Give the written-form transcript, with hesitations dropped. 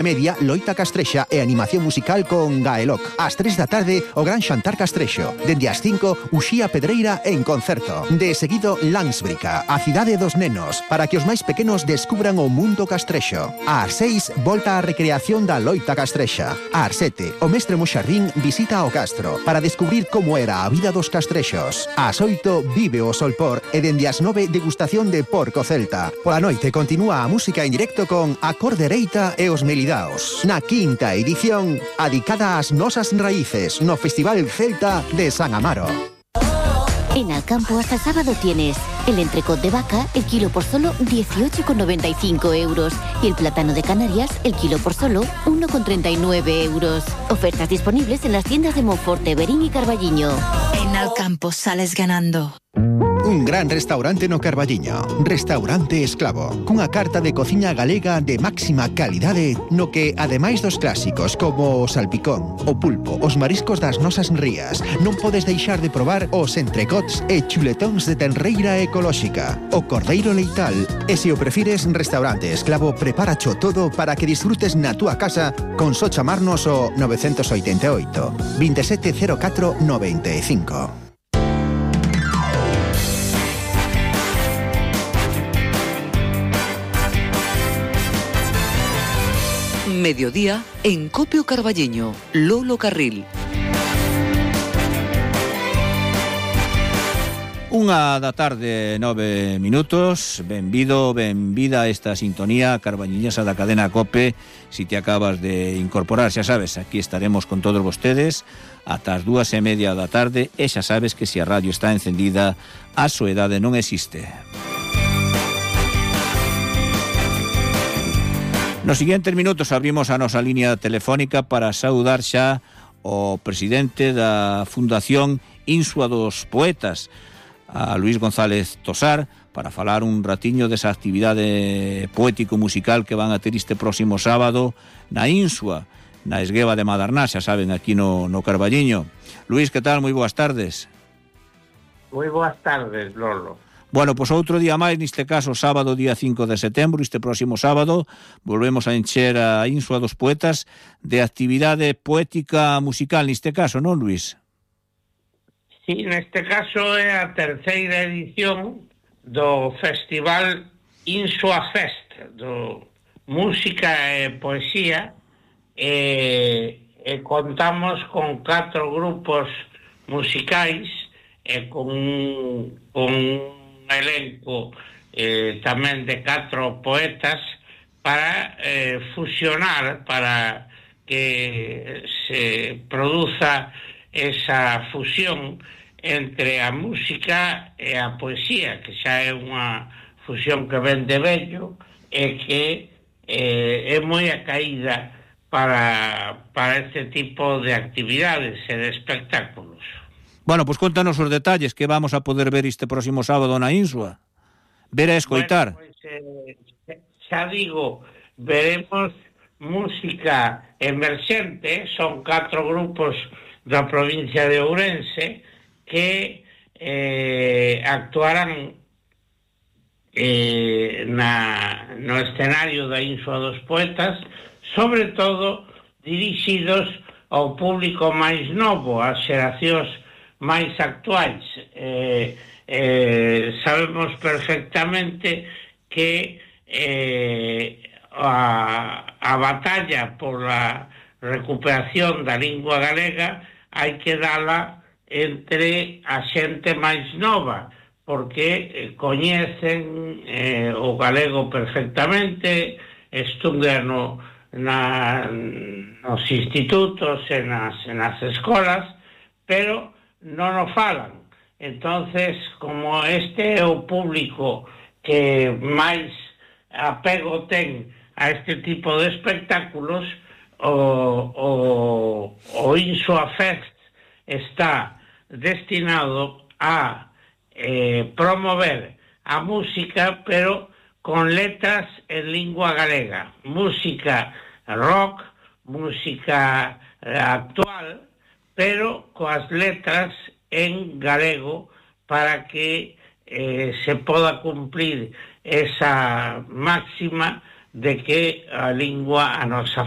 Media, loita castrexa e animación musical con Gaeloc. Ás 3 da tarde, o gran xantar castrexo. Dende as 5, Uxía Pedreira en concerto. De seguido, Landsbrica, a cidade dos nenos, para que os máis pequenos descubran o mundo castrexo. Ás 6, volta á recreación da loita castrexa. Ás 7, o mestre Moxarrín visita o castro para descubrir como era a vida dos castrexos. Ás 8, vive o solpor e dende as 9, degustación de porco celta. Pola noite continúa a música en directo con A Cor Dereita e os Melidaos. Na quinta edición, adicada ás nosas raíces no Festival Celta de San Amaro. En Alcampo hasta el sábado tienes el entrecot de vaca, el kilo por solo 18,95 euros. Y el plátano de Canarias, el kilo por solo 1,39 euros. Ofertas disponibles en las tiendas de Monforte, Verín y Carballiño. En Alcampo sales ganando. Un gran restaurante no Carballiño, Restaurante Esclavo, cunha carta de cociña galega de máxima calidade no que, ademais dos clásicos como o salpicón, o pulpo, os mariscos das nosas rías, non podes deixar de probar os entrecots e chuletóns de tenreira ecolóxica, o cordeiro leital, e se o prefires, Restaurante Esclavo preparacho todo para que disfrutes na túa casa con só chamarnos o 988 2704 95. Mediodía en Copio Carballeño, Lolo Carril. 1:09 minutos. Benvida a esta sintonía carballiñesa da cadena COPE. Si te acabas de incorporar, xa sabes, aquí estaremos con todos vostedes ata as 2:30 da tarde, e xa sabes que se a radio está encendida, a soedade non existe. Nos siguientes minutos abrimos a nosa línea telefónica para saudar xa o presidente da Fundación Insua dos Poetas, a Luís González Tosar, para falar un ratiño desa actividade poético-musical que van a ter este próximo sábado na Insua, na Esgueva de Madarná, xa saben, aquí no Carballiño. Luís, que tal? Moi boas tardes. Moi boas tardes, Lolo. Bueno, pois outro día máis, neste caso sábado día 5 de setembro, este próximo sábado, volvemos a encher a Insua dos Poetas de actividade poética musical, neste caso, non, Luís? Sí, neste caso é a terceira edición do Festival Insua Fest, do Música e Poesía, e contamos con 4 grupos musicais e con un elenco tamén de 4 poetas para fusionar, para que se produza esa fusión entre a música e a poesía, que xa é unha fusión que ven de vello e que é moi acaída para este tipo de actividades e de espectáculos. Bueno, pois contanos os detalles que vamos a poder ver este próximo sábado na Insua. Ver e escoitar. Bueno, pois, xa digo, veremos música emerxente, son 4 grupos da provincia de Ourense que actuarán no escenario da Insua dos Poetas, sobre todo dirixidos ao público máis novo, ás xeracións máis actuais. Sabemos perfectamente que a batalla por a recuperación da lingua galega hai que dala entre a xente máis nova, porque coñecen o galego perfectamente, estudian nos institutos e nas escolas, pero non o falan. Entonces, como este é o público que máis apego ten a este tipo de espectáculos, o Insua Fest está destinado a promover a música, pero con letras en lingua galega, música rock, música actual, pero coas letras en galego, para que se poda cumplir esa máxima de que a lingua, a nosa